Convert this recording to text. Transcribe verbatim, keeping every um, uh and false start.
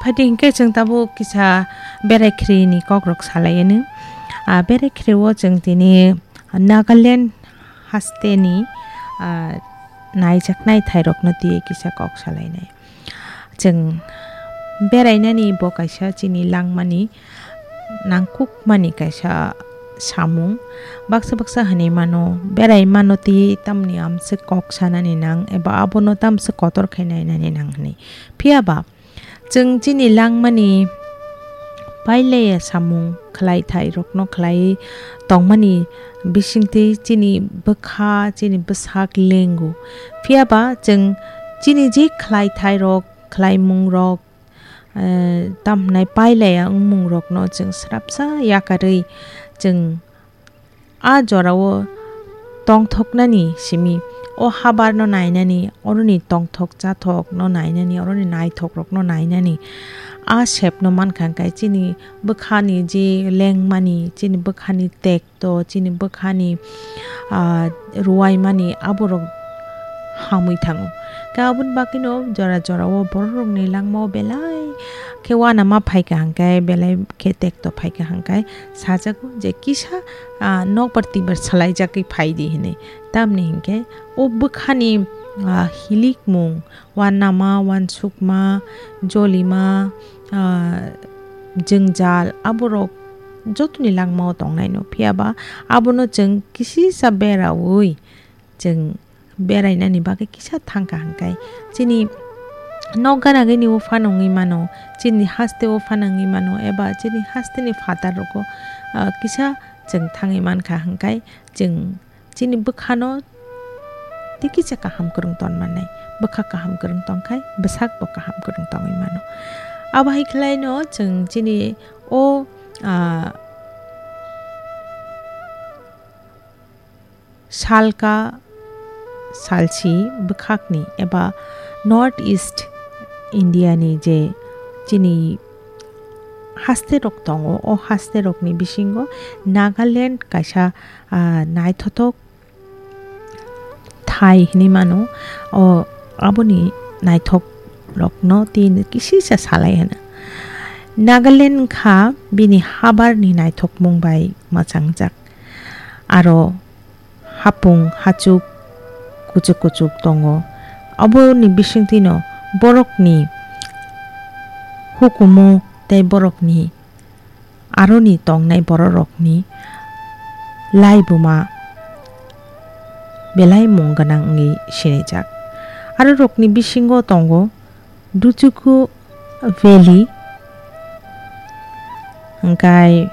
Phaidi hinkhe chwng tabuk kisa berai khrini kokrok salai anw. Ah, berai khrio chwng tini Nagaland hasteni, ah, naijaknai thairokno twiwi kisa kok salainai. Chwng berainani bo kaisa chini langmani nangkukmani kaisa samung. Baksa baksa hinwi mano, berai mano tei tamni amswk kok sanani nang eba abono tamswk kotor khai nainani nang hinwi. Phiya ba chwng chini langmani pailaiya samung khlai thairokno khlaiwi tongmani bisingtwi chini bwkha, chini bwsak lengo. Phiya ba chwng chini je khlai thairok, khlaimungrok, eh, tamhnai pailaiya wngmungrokno chwng srapsa yakarwi chwng a jorao tongthoknani simi, o habarno nainani, oroni tongthok chathokno nainani, oroni naithokrokno nainani, a sepno mankha hwnkhe chini bwkhani je lengmani, chini bwkhani tekto, chini bwkhani, ah, ruwaimani aborok hamwi thango. Khe aboni bagwino jora jorao bororokni langmao belai khe uanama phaikha hwnkhe, belai khe tekto phaikha hwnkhe sajago je kisa, ah, nokbar twibar salaijagwi phaidi hinwi. Tamni hinkhe o bwkhani, ah, hilikmung, uanama, uansukma, jolima, ah, jwngjal aborok jotoni langmao tongnaino. Phiya ba abono chwng kisisa beraui chwng berainani bagwi kisa thangkha hwnkhe chini nok gana gini uphano wngwi mano, chini haste uphano wngwi mano, eba chini hasteni phatar rogo, ah, kisa chwng thangwi mankha hwnkhe chwng chini bwkhano tei kisa kaham kwrwng ton mannai. Bwkha kaham kwrwng tongkhai bwsakbo kaham kwrwng tongwi mano. Abo hai khlaino chwng chini o, ah, salka salsi bwkhakni eba North East India ni je chini haste rok tongo, o haste rokni bisingo Nagaland kaisa, ah, naithothok thai hinwi mano. O aboni naithok rokno tini kisisa salai hwno. Nagaland wngkha bini habarni naithokmung bai mwchangjak. Aro hapung hachuk kuchuk kuchuk tongo. Aboni bisingtwino borokni hukumu tei borokni aroni tongnai bororokni laibuma belai mung gwnang wngwi sinijak. Arorokni bisingo tongo Duchuku Valley, hwnkhe